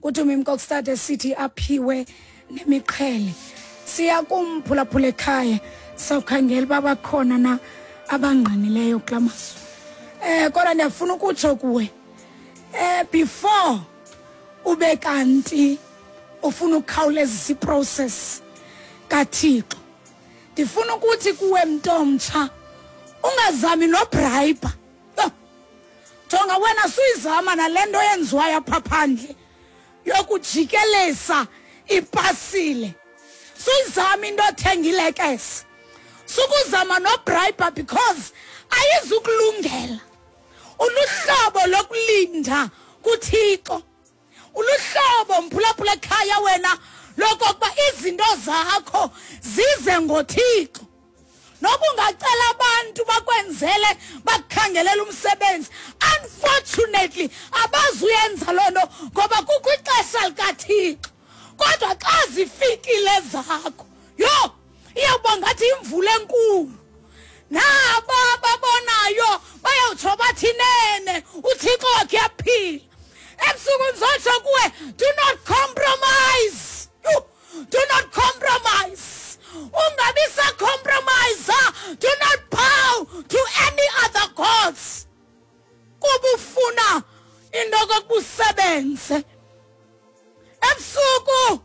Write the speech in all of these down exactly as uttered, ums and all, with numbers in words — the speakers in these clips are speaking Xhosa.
kuTumi Mkokstad esithi aphiwe nemiqhele. Siya kumphulaphula ekhaya, sawukhangela uba bakhona na abangqinileyo kula mazwi. Eh kodwa ndiyafuna ukutsho kuwe, eh before ube kanti ufuna ukukhawulezisa iprocess kaThixo, ndifuna ukuthi kuwe mntomtsha, ungazami nobribe. Jonga wena, suyizama nale nto yenziwayo apha phandle yokujikeleza ipasile. Suyizama into othenga ilekese, sukuzama nobribe because ayizukulungela. Uluhlobo lokulinda kuThixo, uluhlobo mphulaphula ekhaya wena lokokuba izinto zakho zize ngoThixo. Noba ungacela abantu bakwenzele, bakukhangelele umsebenzi, unfortunately abazuyenza loo nto ngoba kukho ixesha likaThixo. Kodwa xa zifikile zakho, yho, iyawuba ngathi imvula enkulu. Nabo ababonayo bayawutsho bathi nene uThixo wakhe uyaphila. Ebusuku ndizotsho kuwe, do not compromise. Do not compromise. Ungabi sa-compromise. Do not bow to any other gods. Kuba ufuna into yokokuba usebenze. Ebusuku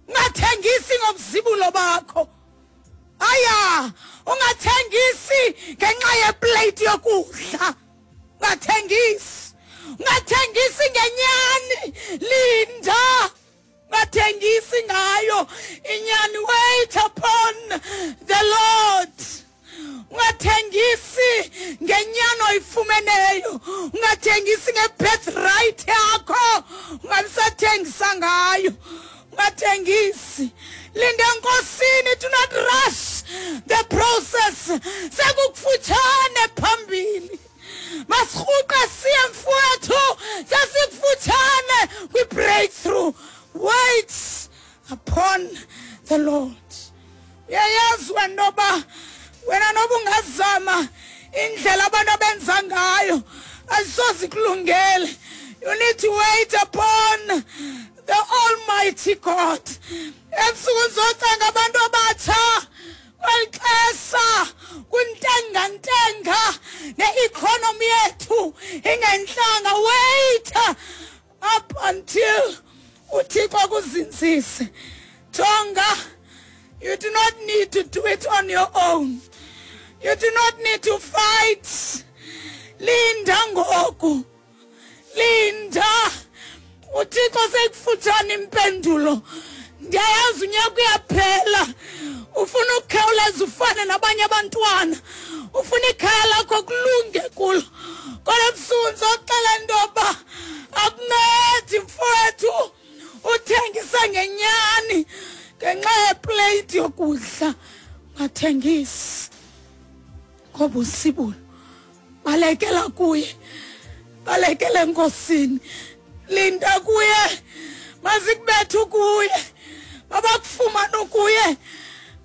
ungathengisi ngobuzibulo bakho. Aya, ungathengisi ngenxa yeplate yokudla. Ungathengisi. Ungathengisi ngenyani. Linda. Ungathengisi ngayo inyani. Wait upon the Lord. Ungathengisi ngenyani oyifumeneyo. Ungathengisi ngebirthright yakho. Ungabisathengisa ngayo. Ungathengisi. Linda enkosini. Do not rush the process. Sekukufutshane phambili. Masirhuqe siye mfowethu, sesikufutshane kwi-breakthrough. Wait upon the Lord. Uyayazi wena noba wena noba ungazama indlela abantu abenza ngayo, azisoze kulungele. You need to wait upon the Almighty God. Ebusuku ndizocenga abantu abatsha kweli xesha kuntengantenga ne-economy yethu ingentlanga. Wait up until uThixo akuzinzise. Jonga, you do not need to do it on your own. You do not need to fight. Linda ngoku. Linda. uThixo sekufutshane impendulo. Ndiyayazi unyaka uyaphela. Ufuna ukukhawuleza ufane nabanye abantwana. Ufuna ikhaya lakho kulunge kulo. Kodwa ebusuku ndizoxela into yoba akuncedi mfowethu uthengisa ngenyani ngenxa yeplate yokudla. Ungathengisi ngoba usibulo. Balekela kuye, balekele enkosini. Linda kuye, mazikubethe kuye, mabakufumane kuye,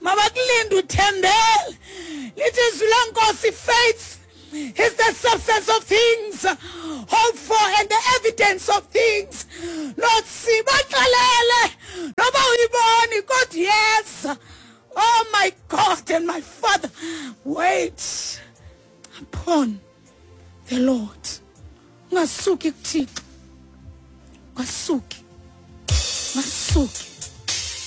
mabakulinde uthembele. Lithi izwi lenkosi, faith is the substance of things hoped for and the evidence of things not seen. Baxelele noba uyiboni, kodwa yeza. Oh my God and my Father, wait upon the Lord. Ungasuki kuThixo. Ungasuki. Ungasuki.